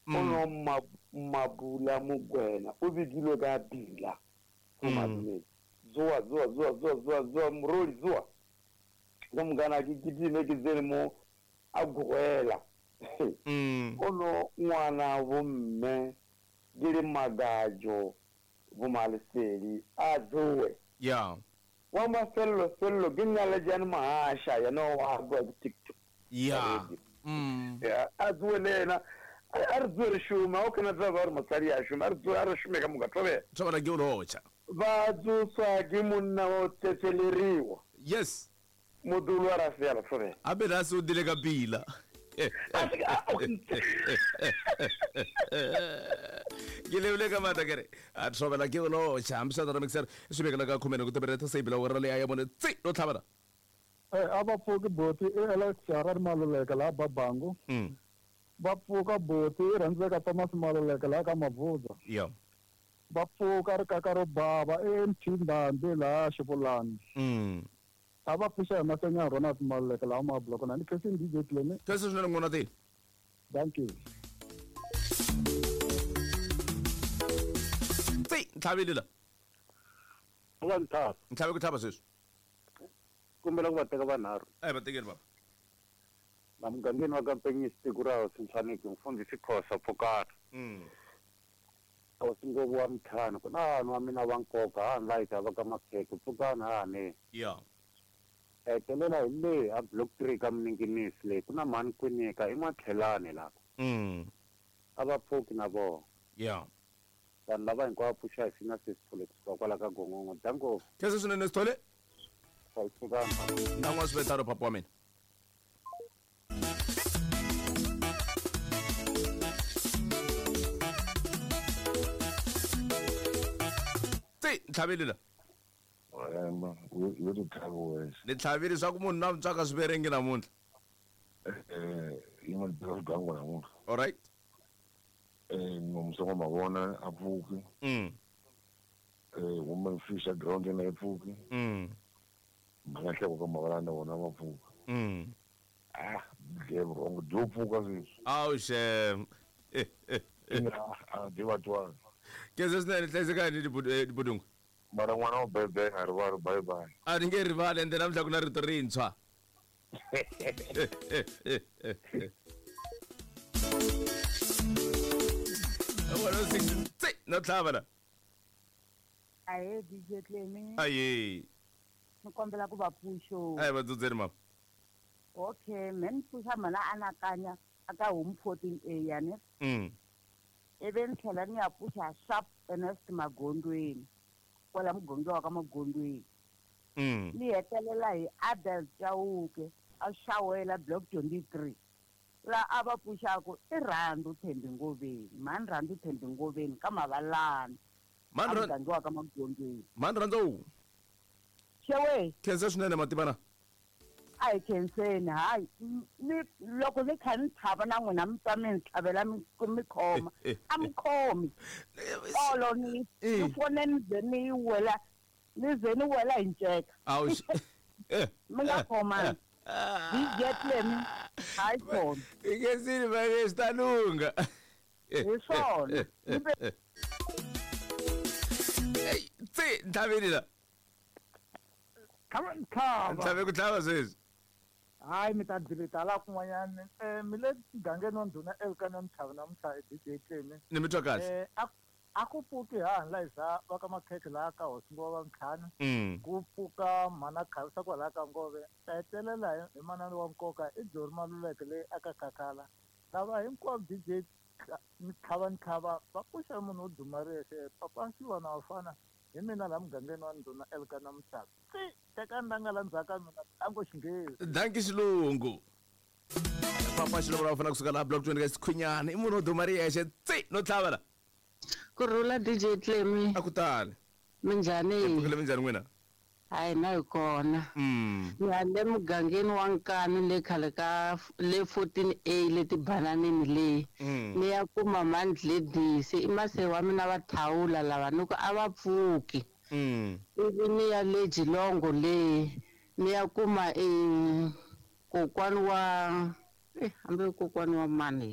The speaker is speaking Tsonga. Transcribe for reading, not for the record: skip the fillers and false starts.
Ono Mabula Mokwena o bidilwe ka pila go madumedi. Tsoa tsoa tsoa tsoa tsoa tsoa morodi tsoa. Ka mokana ke kitime ke tsene mo a gogela. Ono ngwana bomme ke le Magajo bo Malesedi a tsoe. Ya. Wa mafello fello ke nna le Jan Mahasha yena wa bua ke TikTok. Ya. Ya a tsoe le yena a re tsoe re šome o kana tseba gore mosadi a šome a re tsoe a re šome ka moka thobela. Thobela ke o lotšha. Ba tsoswa ke monna wa o tsetseleriwa. Yes. Modolo wa rafela thobela. A be a se o dile ka pila. Ke lebile ka maatla kere a thobela ke o lotšha mshatara mixer swi vekela ka khomene ku tebeleta se ibila wera leya ya bone tsi lo tlhavela. A va pfuki boti i Alex Harare Maluleke laha Babangu. Va pfuka boti i rhandzeka Thomas Maluleke laha ka Mabvuza. Ya. Va pfuka rikaka ro bava i MT Ndhambi laha Xivulani. A va pfuxa hi Masenya Ronald Maluleke laha Mabloko na ni khensini DJ Clemy. Khensa swinene n'wana ti. Thank you. Tsi ntlhavile la. Wa ntlhava. Ntlhave ku tlhava sweswi. Kombela ku va teka vanharhu. A hi va tekeni baba. La mugangeni wa ka Mpenyisi tiko ra Hosi Ntlhaniki mfundhisi Khosa Pfukana. Hosi Ngovu wa Mthana ku na vanhu wa mina va nkoka ha ni layita va ka Makhekhe Pfukana ha ni. Ya. Hetelela hi le a block 3 ka Mninginisi leyi ku na mhani Kwinika i N'watlhelani lapha. A va pfuki na vona. Ya. Vanhu lava hinkwavo pfuxa hi sina Sesithole kusuka kwala ka Gongongo. Danko. Khensa swinene Sithole. Pfukana. Na n'wa swi papa wa mina. Tsi ntlhavile la. Wena yo ti tlhavi wexe. Ni tlhavile swa ku munhu na ntswaka swiverengi namuntlha. Yi nga ni teka swigangu namuntlha. All right. Nomusa mavona a pfuki. Woman fish a ground na yi pfuki. Makahleko ka mavalana wona va pfuka. Ah, dye vurhongo byo pfuka sweswi. Awu xem. A dyi va twana. Khensa swinene hlayisekani dibudungu. Mara n'wana wa bebe a rivali bye bye. A ni nge rivali ende namuntlha ku na rito rintshwa. Tsi no tlhava la. Ahe DJ Clemy. Aye. Ni kombela ku va pfuxo. A hi va dzudzeni mama. Okay, me ni pfuxa mhana anakanya aka home 14A yani. Ivi ni tlhela ni ya pfuxa sharp Ernest Magondweni. Kwala muganga wa ka Magondweni. Ni hetelela hi Abel Chauke a xawela block 23. La a va pfuxaku i Rhandu Thembi Ngoveni. Mhani Rhandu Thembi Ngoveni ka Mavalani. Muganga wa ka Magondweni. Mhani Rhandu. Xewe. Khensa swinene mativana. A hi khenseni hayi ni loko ni kha ni tlhava na n'wina mi twa mi ni tlhavela mi khoma a mi khomi olo ni ni fone ni ze ni wela ni ze ni wela hi nceka. Mi nga khomani DJ Clemy hayi khona. I khensile va swi ta lungha. Hi swona. Tsi ntlhavile la. Ntlhave ku tlhava sweswi. Hayi mi ta dileta la kun'wanyana mi le mugangeni wa ndhuna Elkana Mtlhavi namuntlha DJ Clemy. Ni mi twa kahle. A ku pfuki ha Liza va ka Makhekhe laha ka Hosi Ngova Mtlhana. Ku pfuka mhana Khavisa kwalaha ka Ngove. Ta hetelela hi manana wa nkoka i Jori Maluleke leyi aka Khakhala. Lava hinkwavo DJ Ntlhava Ntlhava va pfuxa munhu wo duma riyexe papa Nsiwana wa fana hi mina laha mugangeni wa ndhuna Elkana Mtlhavi. Teka ndanga la ndzhaka mina tango xinghezi. Danki xilungu. Papa xilungu la fana kusuka la block 20 ka Sikhwinyana i munhu wo duma riyexe tsi no tlhava la. Ku rhula DJ Clemy. A ku tali. Minjhani? Pfukile minjhani n'wina? Hayi na hi kona. Ni le mugangeni wa Nkani le khale ka le 14A le tibananini leyi. Ni ya kuma Mandledisi i mase wa mina va thawula lava ni ku a va pfuki. Ivi ni ya le Jilongo leyi ni ya kuma kokwani wa hambi kokwani wa mani.